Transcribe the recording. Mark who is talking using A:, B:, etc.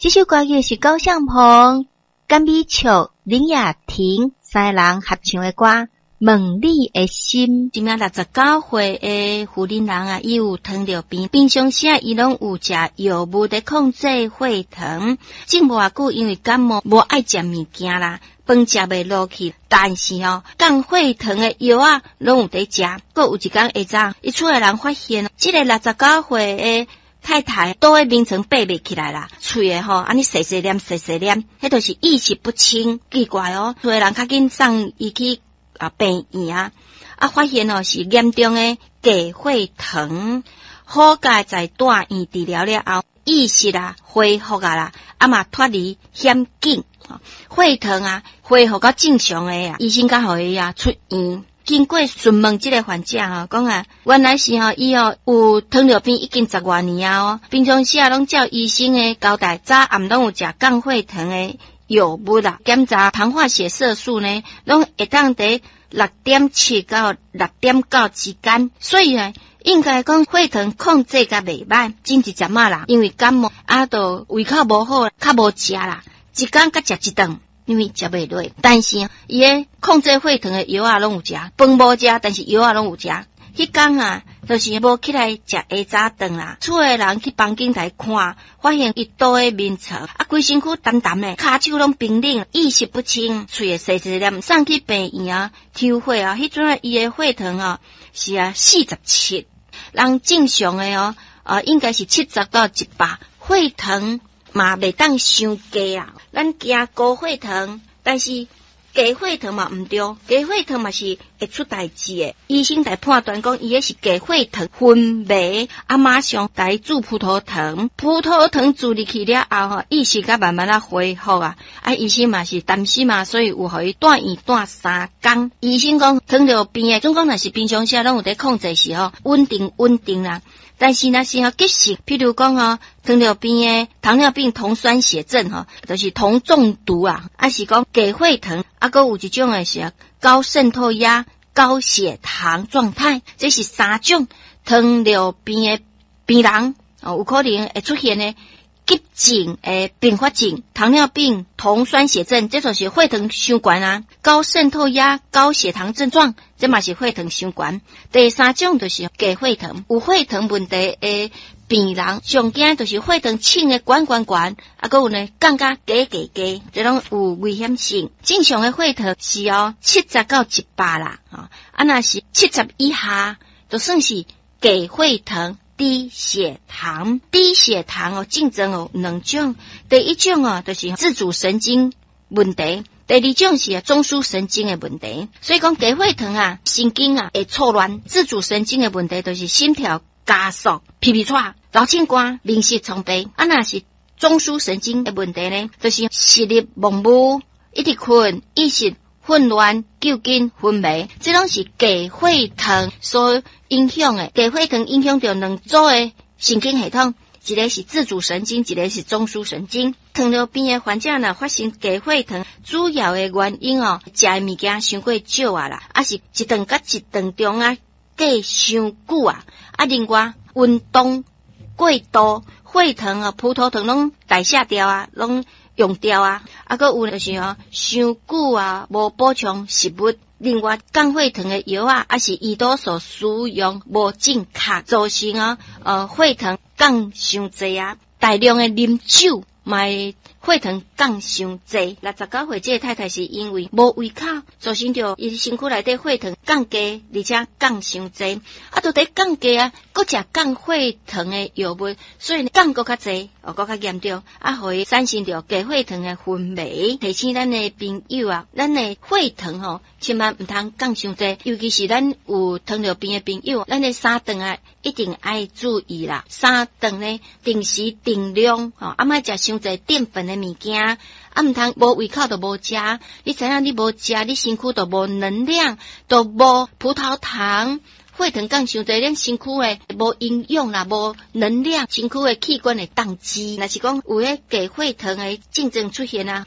A: 這首歌曲是高尚鵬、甘美笑、林雅婷三个人合唱的歌《問你的心》。
B: 一名69歲的婦人人啊，伊有糖尿病，平常時啊，伊攏有食藥物佇控制血糖。前無偌久，因為感冒無愛食物件啦，飯食袂落去，但是哦，降血糖的藥仔攏有佇食。閣有一工下晝，伊厝的人發現，這个69歲的太太倒佇眠床爬袂起來啦，喙的吼按呢細細念細細念，彼就是意識不清，奇怪哦。厝的人較緊送伊去啊病院啊，啊發現哦是嚴重的低血糖，好佳哉蹛院治療了後，意識啊恢復啊啦，啊嘛脫離險境，血糖啊恢復到正常的啊，醫生才予伊啊出院。經過詢問這个患者吼，講啊，原來是吼伊吼有糖尿病已經十外年啊哦，平常時啊攏照醫生的交代，早暗攏有食降血糖的藥物啦。檢查糖化血色素呢，攏會當佇6.7到6.9之間，所以呢，應該講血糖控制甲袂䆀。前一陣仔啦，因為感冒啊，就胃口無好，較無食啦，一工才食一頓。因為食袂落，但是伊的控制血糖的藥仔攏有食，飯無食，但是藥仔攏有食。彼工啊，就是無起來食下早頓啦。厝的人去房間來看，發現伊倒佇眠床，啊，規身軀澹澹的，跤手攏冰冷，意識不清，喙會細細念，送去病院啊，抽血啊，彼陣伊的血糖啊是啊47，人正常的哦，啊應該是70到100，血糖嘛袂當傷低啊，咱驚高血糖，但是低血糖嘛毋對，低血糖嘛是會出代誌的。醫生來判斷講，伊彼是低血糖昏迷，啊馬上來注葡萄糖，葡萄糖注入去了後吼，意識才慢慢仔恢復啊。啊，醫生嘛是擔心嘛，所以有予伊蹛院蹛3工。醫生講糖尿病的，總講若是平常時攏有佇控制時吼，穩定穩定啦。但是若是吼急性，譬如講吼糖尿病的糖尿病酮酸血症吼，就是糖中毒啊，抑是講低血糖，啊，閣有一種的是高滲透壓、高血糖狀態，這是三種糖尿病的病人哦，有可能會出現的急症的併發症，糖尿病酮酸血症，這就是血糖傷懸啊；高滲透壓、高血糖症狀，這嘛是血糖傷懸。第三種就是低血糖，有血糖問題的病人，上驚就是血糖衝的懸懸懸，啊，閣有呢降甲低低低，這攏有危險性。正常的血糖是哦70到100啦，啊，若是七十以下，就算是低血糖。低血糖，低血糖哦，症狀有兩種。第一種哦，就是自主神經問題；第二種是中樞神經的問題。所以講低血糖啊，神經啊會錯亂。自主神經的問題就是心跳加速、皮皮喘、流清汗、面色蒼白。啊，若是中樞神經的問題呢，就是視力模糊、一直睏、意識混亂、抽筋、昏迷，這攏是低血糖所影響的。低血糖影響著兩組的神經系統，一个是自主神經，一个是中樞神經。糖尿病的患者若發生低血糖，主要的原因哦，食的物件傷過少啊啦，抑是一頓佮一頓中啊隔傷久啊，啊另外運動過度，血糖啊、葡萄糖攏代謝掉啊，攏用掉啊，啊，閣有就是吼，傷久啊，無補充食物。另外，降血糖的藥啊，抑是胰島素使用無正確，造成啊，血糖降傷濟啊，大量的啉酒嘛會血糖降傷濟。69歲這个太太是因為無胃口，造成著伊身軀內底血糖降低，而且降傷濟。啊，都佇降低啊，閣食降血糖的藥物，所以降閣較濟，哦，閣較嚴重，啊，予伊產生著低血糖的昏迷。提醒咱的朋友啊，咱的血糖吼，千萬毋通降傷濟，尤其是咱有糖尿病的朋友，咱的三頓啊，一定愛注意啦。三頓呢，定時定量，吼，啊，莫食傷濟澱粉的物件，啊，毋通無胃口就無食。你知影你無食，你身軀就無能量，就無葡萄糖，血糖降傷濟，咱身軀的無營養啦，無能量，身軀的器官會當機。若是講有彼低血糖的症狀出現啊。